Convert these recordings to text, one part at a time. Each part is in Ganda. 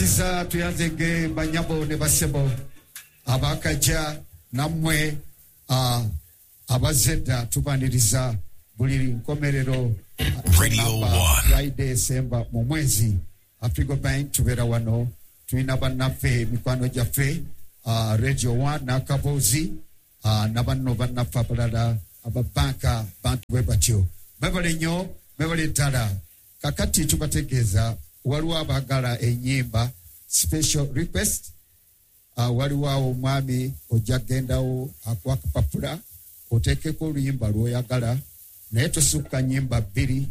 Kiza tuyanzege banyabo ne basebo abakajja nammwe abazze edda, tubaniriza buli nkomerero Radio namba 1. Friday esemba mu mwezi. Afrigo Bank tubeera wano, tulina bannaffe, mikwano gyaffe, Radio 1 n'akaboozi, na banno bannaffe abalala ababanka, bantu bwe batyo. Mwebale nnyo, mwebale ddala. Kakati tubategeeza waliwo abaagala ennyimba, special request. Waliwo awo omwami ojja kugendawo akuwa akapapula oteekeko oluyimba lw'oyagala, naye tosukka nnyimba bbiri,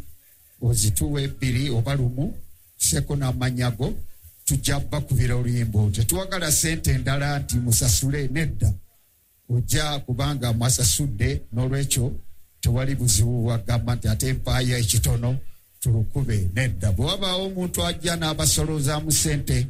ozituwa ebbiri oba lumu, seko n'amannya go, tujja bakubira oluyimba olwo. Tetuwagala ssente endala nti musasule, nedda, ojja kubanga mwasasudde, n'olwekyo tewali buzibu bwagamba nti ate mpaaya ekitono tulukube, nedda. Bwe wabaawo omuntu ajja n'abasolozaamu ssente,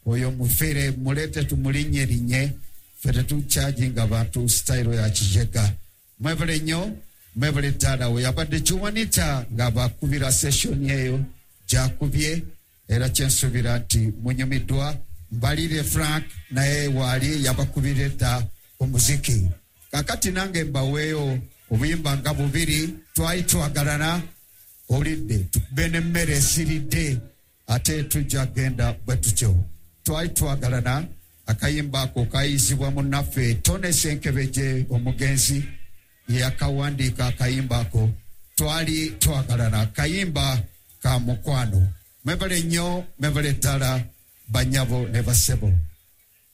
oyo mufere, muleete tumulinnyerinye, ffe tetukyajinga bantu sitayiro ya kijega. Mwebale nnyo, mwebale ddala. We yabadde Kiwanita ng'abakubira sessioni eyo gyakubye, era kyensuubira nti munyumiddwa. Mbalire Frank naye waali yabakubira edda omuziki. Kakati nange mbaweeyo obuyimba nga bubiri. Twali twagalana, olidde tukube n'emmere esiridde, ate tujja genda bwe tutyo. Twali twagalana, akayimba ako kayizibwa munnaffe Tone Senkebejje, omugenzi yeyakawandiika akayimba ako. Twali twagalana, kayimba ka mukwano. Mwebale nnyo, mwebale ddala banyabo ne basebo.